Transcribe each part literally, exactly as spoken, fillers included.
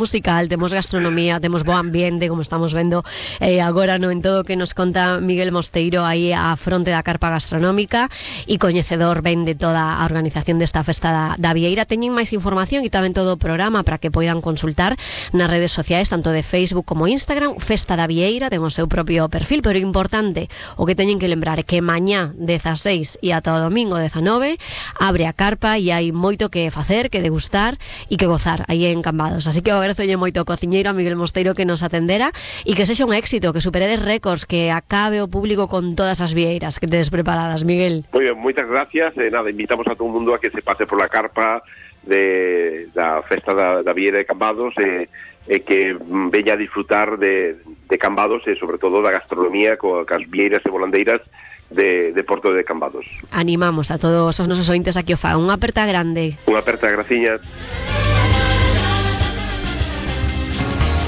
musical, temos gastronomía, temos bo ambiente, como estamos vendo eh, agora no en todo o que nos conta Miguel Mosteiro aí á fronte da carpa gastronómica e coñecedor ben de toda a organización desta festa da, da Vieira. Teñen máis información e tamén todo o programa para que poidan consultar nas redes sociais, tanto de Facebook como Instagram. Festa da Vieira ten o seu propio perfil, pero importante o que teñen que lembrar é que mañá dezaseis e ata o domingo dezanove abre a carpa e hai moito que facer, que degustar e que gozar aí en Cambados. Así que agradezolle moito ao cociñeiro, a Miguel Mosteiro, que nos atendera e que sexa un éxito, que superedes récords, que acabe o público con todas as vieiras que tedes preparadas, Miguel. Muy bien, moitas gracias. Eh, nada, invitamos a todo o mundo a que se pase por la carpa de da festa da, da Vieira de Cambados e eh, eh, que veña a disfrutar de, de Cambados e sobre todo da gastronomía co, cas vieiras e volandeiras de, de Porto de Cambados. Animamos a todos os nosos ointes a que o fan. Unha aperta grande. Unha aperta, graciñas.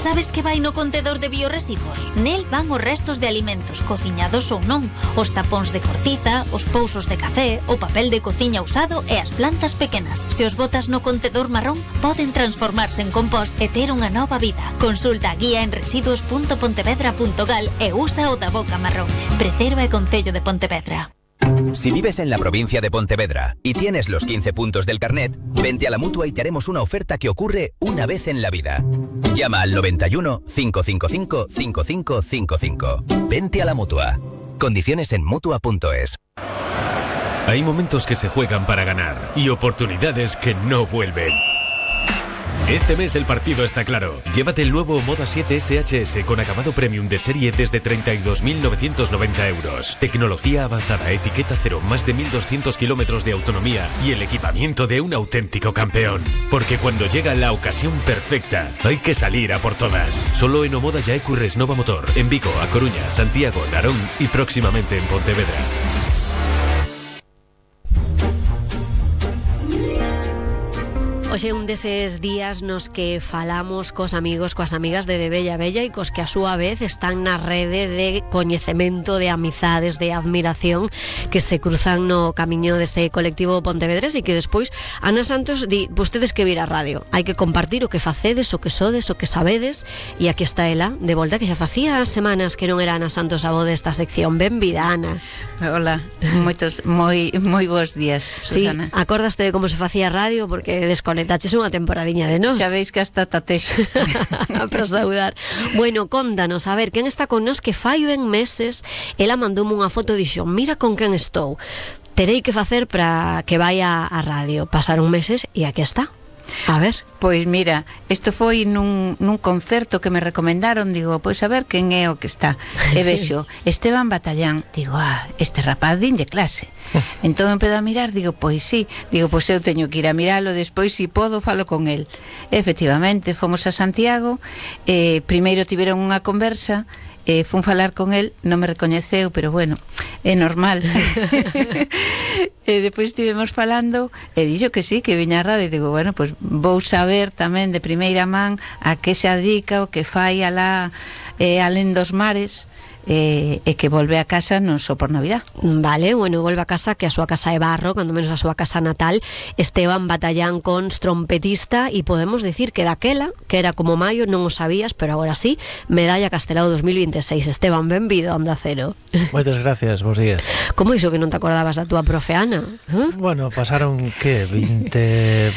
Sabes que vai no contedor de biorresiduos? Nel van os restos de alimentos, cociñados ou non, os tapóns de cortiza, os pousos de café, o papel de cociña usado e as plantas pequenas. Se os botas no contedor marrón, poden transformarse en compost e ter unha nova vida. Consulta a guía en residuos punto pontevedra punto gal e usa o da boca marrón. Preserva e Concello de Pontevedra. Si vives en la provincia de Pontevedra y tienes los quince puntos del carnet, vente a la Mutua y te haremos una oferta que ocurre una vez en la vida. Llama al noventa y uno, cinco cinco cinco, cinco cinco cinco cinco. Vente a la Mutua. Condiciones en mutua punto es. Hay momentos que se juegan para ganar y oportunidades que no vuelven. Este mes el partido está claro. Llévate el nuevo Moda siete S H S con acabado premium de serie desde treinta y dos mil novecientos noventa euros. Tecnología avanzada, etiqueta cero, más de mil doscientos kilómetros de autonomía y el equipamiento de un auténtico campeón. Porque cuando llega la ocasión perfecta, hay que salir a por todas. Solo en Omoda Yaecu Resnova Motor, en Vigo, A Coruña, Santiago, Narón y próximamente en Pontevedra. Hoxe un deses días nos que falamos cos amigos, coas amigas de De Bella Bella e cos que a súa vez están na rede de coñecemento, de amizades, de admiración que se cruzan no camiño deste colectivo Pontevedres e que despois Ana Santos di, vostedes que vir a radio, hai que compartir o que facedes, o que sodes, o que sabedes e aquí está ela, de volta, que xa facía semanas que non era Ana Santos a voz desta sección. Benvida, Ana. Hola, moitos, moi, moi bons días, Susana. Sí, acordaste de como se facía radio porque desconectaste Taches unha temporadiña de nós. Xa veis que hasta tatexo para saudar. Bueno, contanos, a ver, quen está con nós, que fai ben meses ela mandoume unha foto e dixo, mira con quen estou. Terei que facer para que vaya a radio. Pasaron meses e aquí está. A ver. Pois mira, isto foi nun, nun concerto que me recomendaron. Digo, pois a ver quen é o que está. E vexo, Esteban Batallán. Digo, ah, este rapaz dinlle clase. Entón empezo a mirar, digo, pois sí. Digo, pois eu teño que ir a miralo. Despois, si podo, falo con el. E, efectivamente, fomos a Santiago. eh, Primeiro tiveron unha conversa. Eh, fun falar con el, non me recoñeceu, pero bueno, é normal. E depois estivemos falando e dixo que sí, que viña a radio. E digo, bueno, pues vou saber tamén de primeira man a que se adica, o que fai alá eh, alén dos mares. E, e que volve a casa non só por Navidad. Vale, bueno, volve a casa, que a súa casa é Barro, cando menos a súa casa natal. Esteban Batallán Cons, trompetista, e podemos dicir que daquela, que era como maio, non o sabías, pero agora sí, medalla Castelao dos mil veintiséis. Esteban, benvido a Onda Cero. Moitas gracias, bons días. Como iso que non te acordabas da túa profe Ana? ¿Eh? Bueno, pasaron, que, vinte,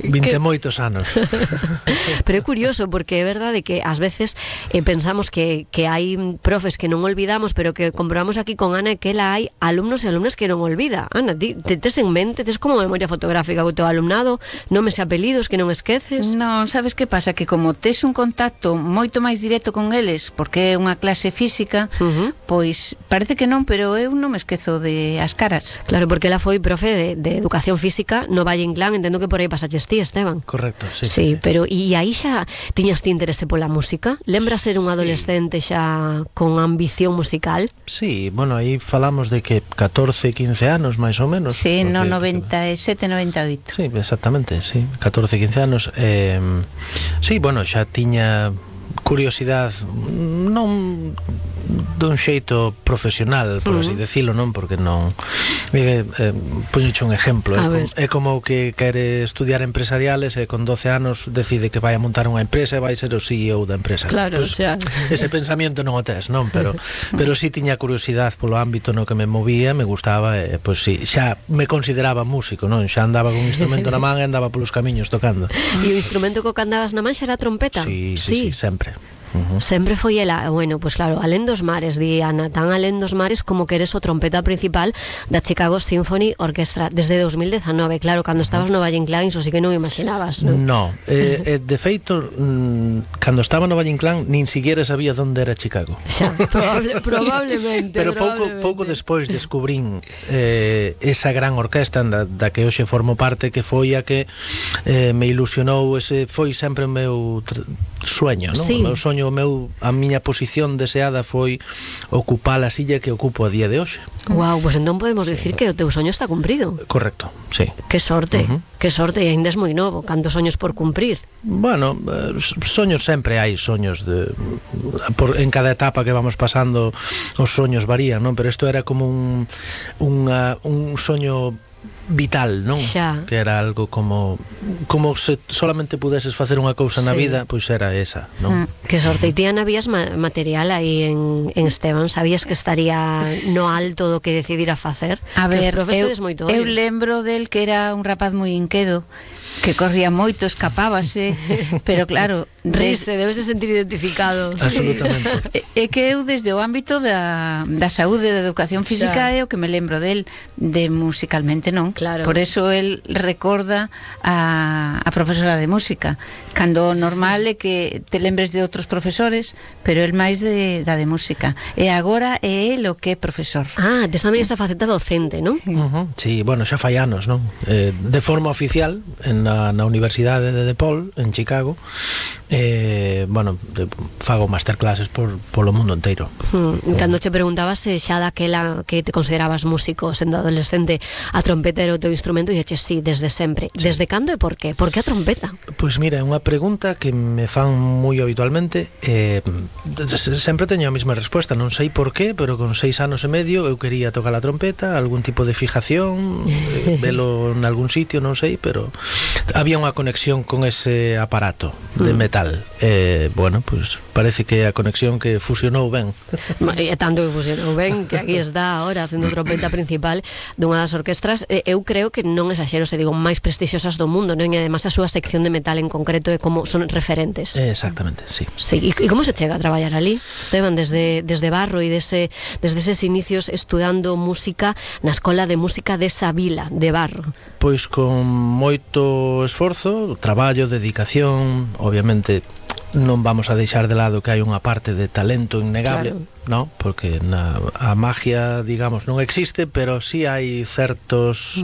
vinte que... moitos anos. Pero é curioso, porque é verdade que ás veces eh, pensamos que, que hai profes que non olvidamos, pero que comprobamos aquí con Ana que ela hai alumnos e alumnas que non olvida. Ana, ti te tes en mente, tes como memoria fotográfica co teu alumnado, nomes e apelidos que non esqueces? Non, sabes que pasa? Que como tes un contacto moito máis directo con eles, porque é unha clase física, uh-huh. Pois parece que non, pero eu non me esquezo de as caras. Claro, porque ela foi profe de, de educación física no Valle Inclán, entendo que por aí pasaches ti, Esteban. Correcto, sí. Sí, sí. Pero e aí xa tiñas ti interese pola música? Lembras ser un adolescente xa con ambición musical? Sí, bueno, aí falamos de que catorce, quince anos máis ou menos. Sí, porque, no noventa e sete, noventa e oito. Sí, exactamente, sí, catorce, quince anos. eh, Sí, bueno, xa tiña curiosidade, non dun xeito profesional, por así decirlo, non? Porque non eh, eh, poñoche un exemplo, é, com, é como o que quere estudiar empresariales e con doce anos decide que vai a montar unha empresa e vai ser o C E O da empresa. Claro, pues, xa. Ese pensamento non o tes, non? Pero pero si sí tiña curiosidade polo ámbito no que me movía, me gustaba, e pois si, sí, xa me consideraba músico, non? Xa andaba con un instrumento na man e andaba polos camiños tocando. E o instrumento co que andabas na man xa era a trompeta? Sí, sí, sí, sí, sempre. Uh-huh. Sempre foi ela, bueno, pois pues claro, alén dos mares, di Ana, tan alén dos mares como que eres o trompeta principal da Chicago Symphony Orchestra desde dos mil dezanove, claro, cando estabas no Valle Inclán, iso sí que non imaginabas, non? No, eh, eh, de feito, mm, cando estaba no Valle Inclán, nin siquiera sabía onde era Chicago. Xa, probable, probablemente. Pero pouco, probablemente. pouco despois descubrín eh, esa gran orquesta da, da que hoxe formo parte, que foi a que eh, me ilusionou, ese foi sempre o meu sueño, non? Sí. O meu soño, o meu, a miña posición deseada foi ocupar a silla que ocupo a día de hoxe. Guau, pois pues entón podemos decir que o teu soño está cumprido. Correcto, sí. Que sorte, Uh-huh. que sorte, e ainda es moi novo, cantos soños por cumprir. Bueno, eh, soños sempre hai soños de, por, en cada etapa que vamos pasando os soños varían, non? Pero isto era como un, unha, un soño vital, non? Xa. Que era algo como como se solamente pudeses facer unha cousa na Sí. vida, pois era esa, non? Mm. Que sorte. E ti, Ana, vías ma material aí en, en Esteban? Sabías que estaría no alto do que decidira facer? A Que os ver, profes eu, tedes moito eu ollo. lembro del que era un rapaz moi inquedo, que corría moito, escapábase, pero claro, des, Rese, debes de sentir identificado. Absolutamente. é que eu desde o ámbito da, da saúde, da educación física, Xa. é o que me lembro del, de musicalmente non. Claro. Por eso el recorda a, a profesora de música, cando o normal é que te lembres de outros profesores, pero el máis de, da de música. E agora é el o que é profesor. Ah, tes tamén esa faceta docente, non? Uh-huh. Sí, bueno, xa fai anos, non? Eh, de forma oficial en na, na Universidade de DePaul, en Chicago, eh, bueno, de, fago masterclasses por, polo mundo inteiro. Hmm. Cando che preguntabas se xa daquela que te considerabas músico sendo adolescente, a trompeta era o teu instrumento, e eches sí, desde sempre. Sí. Desde cando e por qué? Por que a trompeta? Pois mira, é unha pregunta que me fan moi habitualmente, eh, sempre teño a mesma resposta, non sei por qué, pero con seis anos e medio eu quería tocar a trompeta, algún tipo de fijación, eh, velo en algún sitio, non sei, pero había unha conexión con ese aparato de metal. Eh, bueno, pois parece que a conexión que fusionou ben. E tanto que fusionou ben, que aquí está ahora sendo trompeta principal dunha das orquestras, eh, eu creo que non exaxero se digo máis prestixiosas do mundo, non? E además a súa sección de metal en concreto é como son referentes. Eh, exactamente, sí. Sí, e, e como se chega a traballar ali, Esteban, desde, desde Barro e dese, desde eses inicios estudando música na Escola de Música desa vila de Barro? Pois con moito esforzo, traballo, dedicación, obviamente non vamos a deixar de lado que hai unha parte de talento innegable, claro, ¿no? Porque na, a magia, digamos, non existe, pero sí hai certos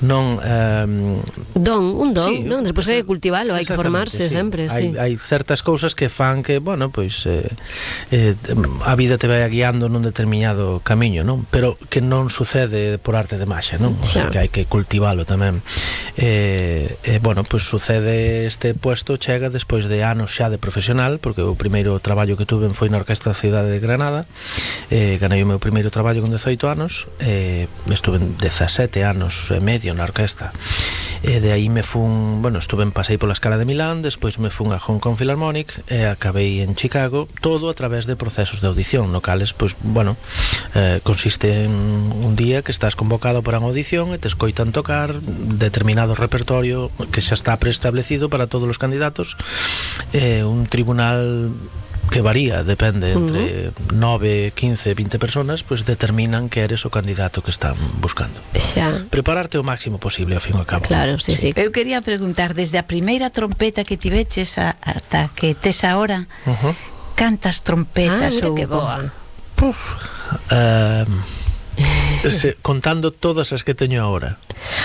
non eh, don, un don, sí, non? Despois hai que cultivalo, hai que formarse sí. sempre, hai, sí. hai certas cousas que fan que, bueno, pois eh, eh, a vida te vai guiando nun determinado camiño, non? Pero que non sucede por arte de magia, non? O sea, que hai que cultivalo tamén. Eh, eh, bueno, pois sucede este puesto, chega despois de anos xa de profesional, porque o primeiro traballo que tuve foi na Orquestra da Cidade de Granada. Eh, ganei o meu primeiro traballo con dezoito anos, eh, estuve dezasete anos e medio na orquesta, e de aí me fun, bueno, estuve en pasei pola Scala de Milán, despois me fun a Hong Kong Philharmonic e acabei en Chicago, todo a través de procesos de audición, no cales, pois, bueno, eh, consiste en un día que estás convocado para unha audición e te escoitan tocar determinado repertorio que xa está preestablecido para todos os candidatos, eh, un tribunal que varía, depende, entre uh-huh. nove, quince, vinte personas, pues determinan que eres o candidato que están buscando. Xa. Prepararte o máximo posible, ao fin e ao cabo. Claro, sí, sí. Eu quería preguntar, desde a primeira trompeta que tiveches a, ata que tes agora, uh-huh. cantas trompetas ah, ou... que boa. Puf, uh, se, contando todas as que teño agora.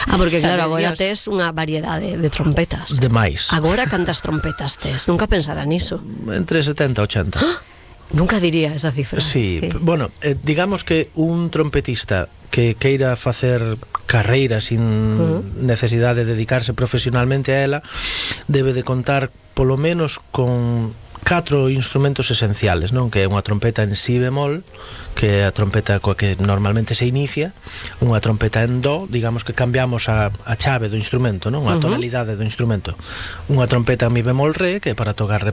Ah, porque Sabe claro, agora Dios. tes unha variedade de trompetas. Demais. Agora cantas trompetas tes? Nunca pensara niso. Entre setenta e ochenta. ¡Ah! Nunca diría esa cifra. Sí, sí. Bueno, eh, digamos que un trompetista que queira facer carreira sin uh-huh. necesidade de dedicarse profesionalmente a ela debe de contar polo menos con catro instrumentos esenciales, non? Que é unha trompeta en si bemol, que é a trompeta coa que normalmente se inicia, unha trompeta en do, digamos que cambiamos a, a chave do instrumento, non? A tonalidade do instrumento. Unha trompeta en mi bemol re, que é para tocar repertorio